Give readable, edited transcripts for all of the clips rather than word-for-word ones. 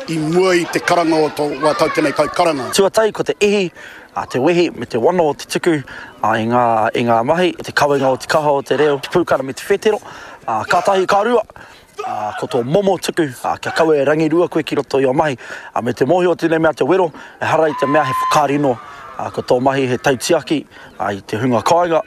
i mua i te karanga o tō wā tau tenei kaikaranga. Tuatahi ko te ihi, te wehi me te wana o te tuku i ngā, i ngā mahi, te kawenga o te kaha o te reo, te pūkana me te whetero, kātahi ka rua, ko tō momo tuku, kia kaua e rangirua koe ki roto i ō mahi, me te mōhio o tēnei mea te wero, ehara i te mea he whakarino, ko tō mahi he tautiaki i te hunga kāinga.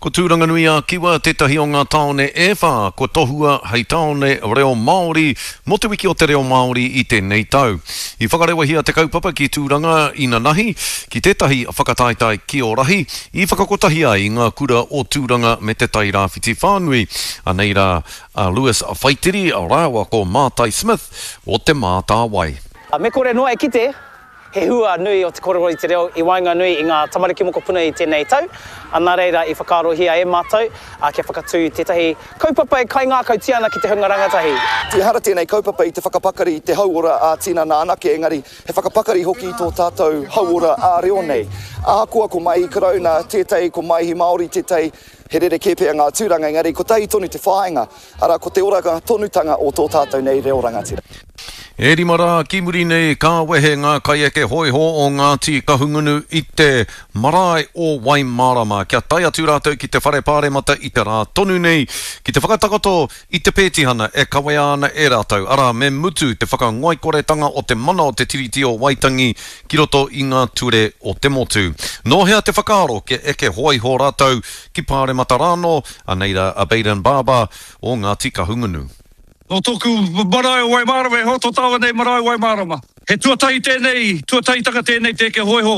Ko Tūranganui-a-Kiwa tētahi o ngā tāone e whā kua tohua hei tāone reo Māori mō Te Wiki o te Reo Māori i tēnei tau. I whakarewahia te kaupapa ki Tūranga inanahi, ki tētahi whakataetae kiorahi i whakakotahi ai i ngā kura o Tūranga me Te Tai Rāwhiti whānui. Anei rā a Lewis Whaitiri rāua ko Mātai Smith o Te Mātāwai. Me kore noa e kite, He hua nui o te kōrero i te reo i waenganui i ngā tamariki mokopuna i tēnei tau, nā reira i whakaarohia e mātou kia whakatū tētahi kaupapa e kaingākautia ana ki te hunga rangatahi. Ehara tēnei kaupapa i te whakapakari i te hauora ā-tinana anake, engari he whakapakari hoki i tō tātou hauora ā-reo nei. Ahakoa ko Maihi Karauna tētahi, ko Maihi Māori tētahi, he rerekē pea ngā tūranga, engari kotahi tonu te whāinga, arā, ko te oranga tonutanga o tō tātou nei reo rangatira. E rima rā ki muri nei ka wehe ngā kaieke hōiho o Ngāti Kahungunu i te marae o Waimārama kia tae atu rātou ki te Whare Pāremata i te rā tonu nei ki te whakatakoto i te pētihana e kawea ana e rātou, arā, me mutu te whakangoikoretanga o te mana o te Tiriti o Waitangi ki roto i ngā ture o te motu. Nō hea te whakaaro kia eke hōiho rātou ki Pāremata rānō? Anei rā a Bayden Barber o Ngāti Kahungunu. Nō tōku marae o Waimārama, e hoa tō tāua nei marae o Waimārama. He tuatahi tēnei, tuatahitanga tēnei te eke hōiho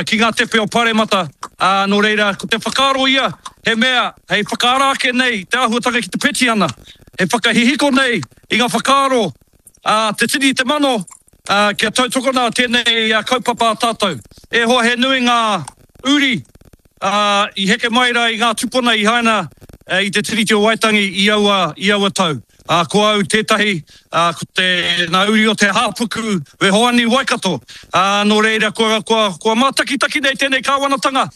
ki ngā tepe o Paremata, ā, nō reira, ko te whakaaro ia, he mea hei whakaara ake nei te āhuatanga ki te petihana, he whakahihiko nei i ngā whakaaro a te tini i te mano, ā, kia tautokona tēnei kaupapa a tātou. E hoa, he nui ngā uri ā, i heke mai rā i ngā tupuna i haina i te Tiriti o Waitangi i aua, i aua tau. Ā, ko au tētahi, ā, ko te, ngā uri o te Hāpuku me Hoani Waikato. Ā, nō reira, kua, kua, kua mātakitaki nei tēnei kāwanatanga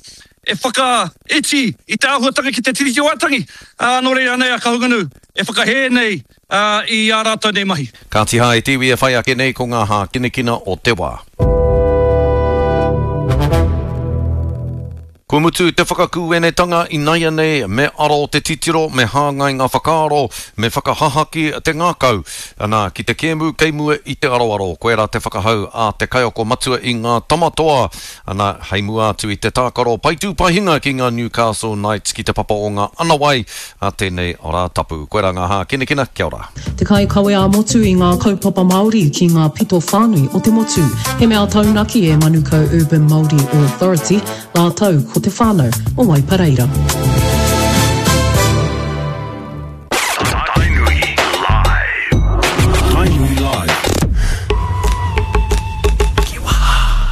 e whakaiti i te āhuatanga ki te Tiriti o Waitangi. Ā, nō reira anei a Kahungunu e whakahē nei, ā, i ā rātou nei mahi. Kāti hā e te iwi e whai ake nei ko ngā hākinakina o te wā. Kua mutu te whakakūenetanga inaianei, me aro te titiro, me hāngai ngā whakaaro, me whakahahaki te ngākau, ana, ki te kēmu kei mua i te aroaro. Koirā te whakahau a te kaiako matua i ngā Tama Toa, ana, hei mua atu i te tākaro paitū-paehinga ki ngā Newcastle Knights ki te papa o ngā Anawai a tēnei Rātapu. Koirā ngā hākinakina, kia ora. Te kaikawe ā-motu i ngā kaupapa Māori ki ngā pito whānui o te motu. He mea taunaki e Manukau Urban Māori Authority rātou ko te whānau o Waipareira. Tainui Live. Tainui Live.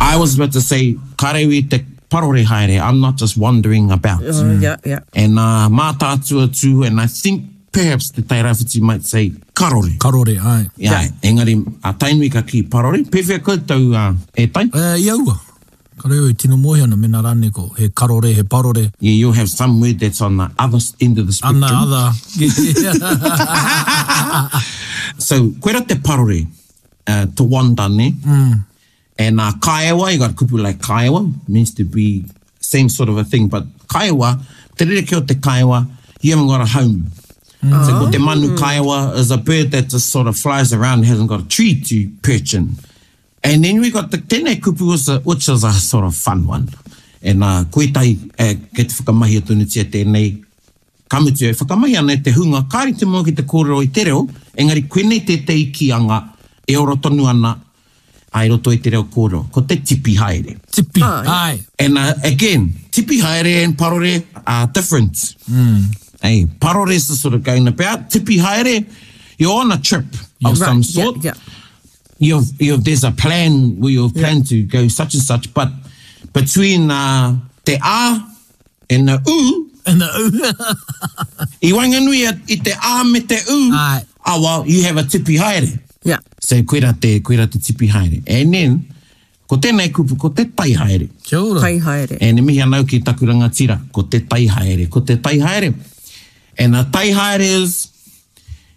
I was about to say, karewi te parore haere, I'm not just wandering about. Oh, yeah, yeah. And uh, mātātua tū, and I think perhaps te Tairāwhiti might say karore. Karore, ae. Yeah, yeah. Engari, a Tainui ka kī parore. Pēwhea koutou uh, e Tai? Uh, i aua. Kare au e tino mōhio ana mena rānei ko he karore, he parore. Yeah, you'll have some word that's on the other end of the spectrum. On the other. so, koera te parore, uh, to wander, ne? Mm. And uh, kaewa, you got kupu like kaewa, means to be same sort of a thing, but kaewa, te rerekē o te kaewa, you haven't got a home. Mm. So ko te manu kaewa is a bird that just sort of flies around and hasn't got a tree to perch in. And then we got the tēnei kupu is a, which is a sort of fun one. And uh, ko ētahi, eh, kei te whakamahia tonutia tēnei, ka mutu e whakamahi ana e te hunga kāre te moe ki te kōrero i te reo, engari koinei tētahi kīanga e ora tonu ana I roto i te reo kōrero, ko te tipi haere. Tipi, āe. And uh, again, tipi haere and parore are different. Mm. Hey, parore is the sort of going about. Tipi haere, you're on a trip of Right, some yeah, sort. yeah. You've, you've, there's a plan where you've planned to go such and such, but between uh, te a and the u, And the u. I waenganui i te a me te u, Āe. ah, well, you have a tipi haere. Yeah. So, koira te, koira te tipi haere. And then, ko tēnei kupu, ko te tai haere. Kia ora. Tai haere. And e mihi ana au ki taku rangatira, ko te tai haere, ko te tai haere. And a tai haere is,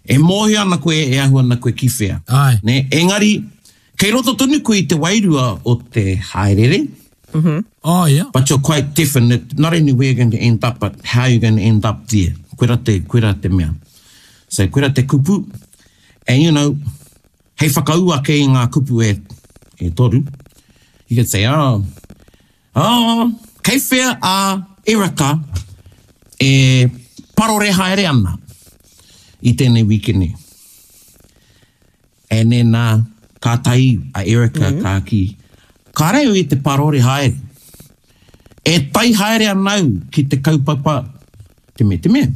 e mōhio ana koe, e ahu ana koe ki whea. Āe. Nē? Engari, Kei roto tonu koe i te wairua o te haerere. Mm -hmm. Oh, yeah. But you're quite definite, not only where you're going to end up, but how you're going to end up there. Koira te, koira te mea. So, koira te kupu. And, you know, hei whakaū ake i ngā kupu e, e toru, you could say, oh, oh, kei whea a Erica e parore haere ana i tēnei wikene. And then, uh, kātahi a Erica mm -hmm. ka ki, kāre au i te parore haere. E tai haere ana au ki te kaupapa te me te mea.